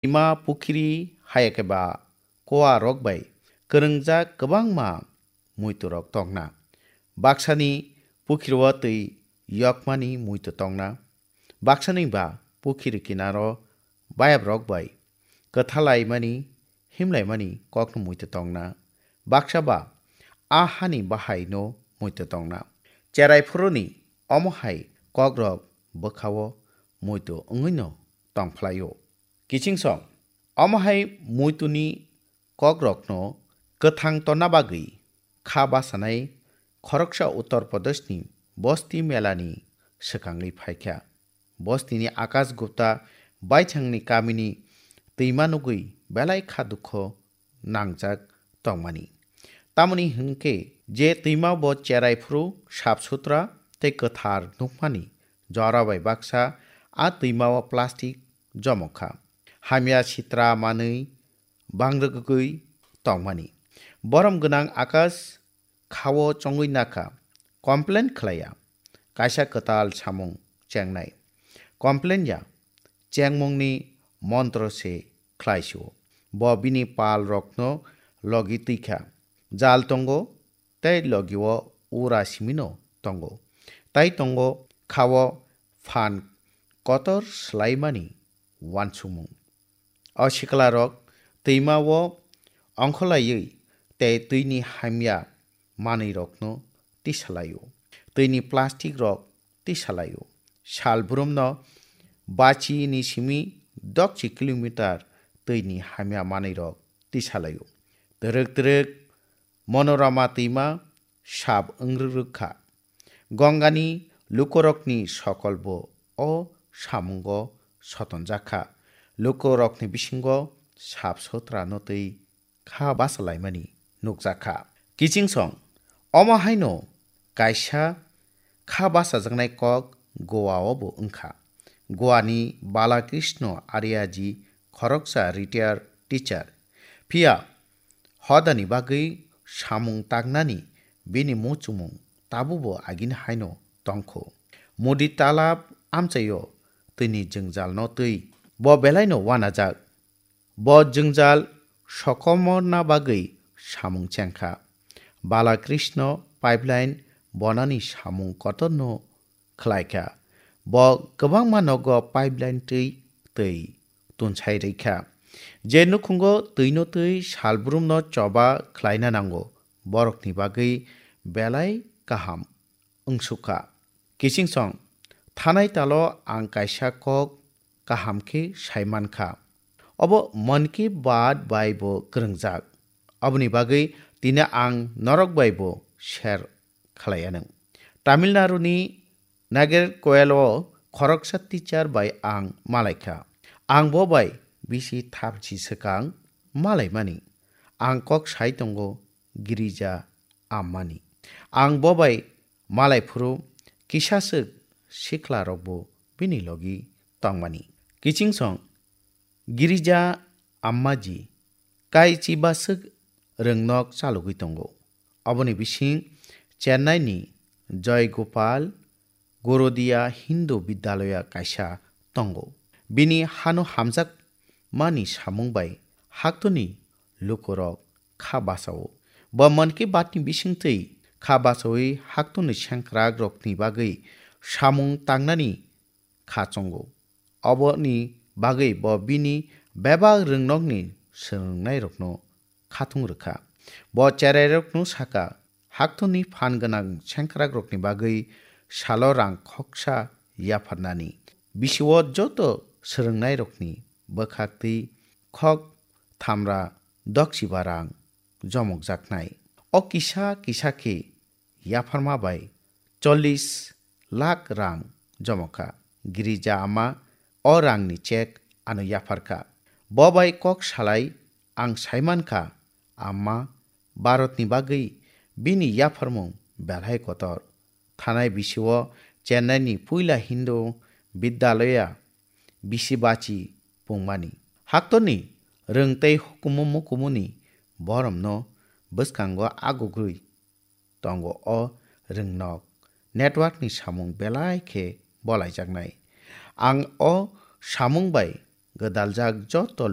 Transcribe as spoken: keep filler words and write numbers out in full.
Ima pukhiri hayakhe ba koa rok bai kwrwngjak kwbangma muitu rok tongna. Baksani pukhiri o twi yokmani muitu tongna. Baksani ba pukhiri kinaro bayap rok bai kwthalaimani, himlaimani kokno muitu tongna. Baksa ba a hani bahaino muitu tongna. Cherai phuruni omo hai kokrok bwkhao muitu wngwino tongphlaio. Kichingsong, omo hai muituni kokrokno kwthang tonna bagwi kha basanai khoroksa Uttar Pradeshni Bosti Melani swkangwi phaikha. Bostini Akash Gupta baithangni kamini twima nugwi belai kha dukho nangjak tongmani. Tamoni hwnkhe je twima bo cherai phuru sap sutra tei kwthar nukmani jora bai baksa a twima o plastic jomokha. Hamya sitra manwi bangrwgwi tongmani. Borom gwnang Akash khao chongwi nakha, complain khlaiya. Kaisa kwtal samung chengnai. Complain ya, chengmungni montro se khlaisio. Bo bini pal rokno logi twikha. Jal tongo, tei logio ura simino tongo. Tai tongo khao phan kotor swlaimani wansukmung. O siklarok twima o ongkholaiwi tei twini hamya manwirokno tisalaio. Twini plastic rok tisalaio. Sal brumno bachini simi dokchi kilometer twini hamya manwirok tisalaio. Twrwk twrwk Monorama twima sap wngrwk kha. Gongani lukurokni sokolbo o samungo sotonjak kha. Lukurokni bisingo sap sotrano twi kha bachalaimani nukjak kha. Kichingsong, omo haino kaisa kha bachajaknai kok Goa o bo wngkha. Goa ni Balakrishna Aryaji khoroksa retired teacher. Phiya hodani bagwi samung tangnani bini muchungmung tabukbo agini haino tongkho. Mudi talab amchaio twini jwngjalno twi bo belaino wanajak. Bo jwngjal sokomorna bagwi samung chengkha. Balakrishna pipeline bonani samung kotorno khlaikha. Bo kwbangma nogo pipeline twi twi tunsai rwkha. Je nukhungo twino twi salbrumno choba khlaina nango, borokni bagwi belai kaham wngsukha. Kichingsong, thanai talo ang kaisa kok kaham khe sai mankha. Obo Mann Ki Baat bai bo kwrwngjak. Oboni bagwi tini ang norok bai bo share khlai anw. Tamil Nadu ni Nagercoil o khoroksa teacher bai ang malaikha. Ang bo bai bisi thapchi swkang malaimani. Ang kok sai tongo Girija Ammani. Ang bo bai malai phuru kisaswk sikla rokbo bini logi tongmani. Kichingsong Girija Ammaji kai chibaswk rwngnok chalogwi tongo. Oboni bising Chennai ni Joy Gopal Gorodia Hindu Vidyalaya kaisa tongo. Bini hano hamjakmani samung bai haktoni lukurok kha bachao. Bo Mann Ki Baat ni bisingtwi kha bachawi haktoni sengkrakrokni bagwi samung tangnani kha chongo. Oboni bagwi bo bini bebak rwngnokni swrwngnairokno khatung rwkha. Bo cherairokno saka, haktoni phan gwnang sengkrakrokni bagwi salo rang khoksa yapharnani. Bisio joto swrwngnairokni bwkhaktwi khok thamra dokchiba rang jomokjaknai. O kisa kisa khe yapharma bai chollish lakh rang jomokha. Girija Amma o rangni chek ano yapharkha. Bo bai kok salai ang saimankha, Amma Bharatni bagwi bini yapharmung belai kotor. Thanai bisio Chennai ni puila Hindu Vidyalaya bisi bachi pungmani. Haktorni rwng tei hukumu mukumuni boromno bwskango agugwi tongo o rwngnok. Network ni samung belai khe bolaijaknai. Ang o samung bai gwdaljak joto